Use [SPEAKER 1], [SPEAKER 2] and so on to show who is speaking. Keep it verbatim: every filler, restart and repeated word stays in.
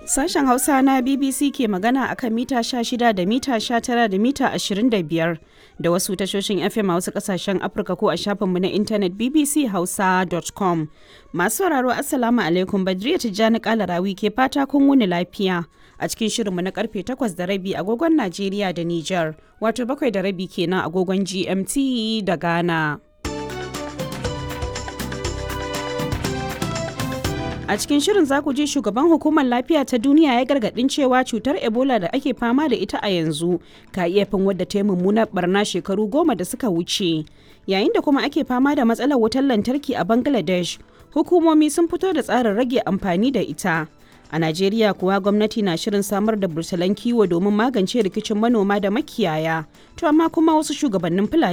[SPEAKER 1] Sashen Hausa na B B C ke magana a kan mita sha shida da mita sha tara da mita ashirin da biyar da wasu tashoshin F M a wasu kasashen Afirka ko a shafinmu na intanet B B C hausa dot com. Masu sauraro, Assalamu alaikum, Badriya Tijjani Kalarawi ke fata kun wuni lafiya a cikin shirinmu na karfe takwas da rabi agogon Najeriya da Nijar, wato bakwai da rabi kenan agogon G M T da Ghana. A cikin shirin za ku ji shugaban Hukumar Lafiya ta Duniya ya gargadin cewa cutar Ebola da ake fama da ita a yanzu ka iya fin wadda ta yi mummunar barna shekaru goma da suka wuce. Yayin da kuma ake fama da matsalar wutar lantarki a Bangladesh, hukumomi sun fito da tsarin rage amfani da ita. A Najeriya kuwa, gwamnati na shirin samar da bursalan kiwo domin magance rikicin manoma da makiyaya. To amma kuma wasu shugabannin Fulani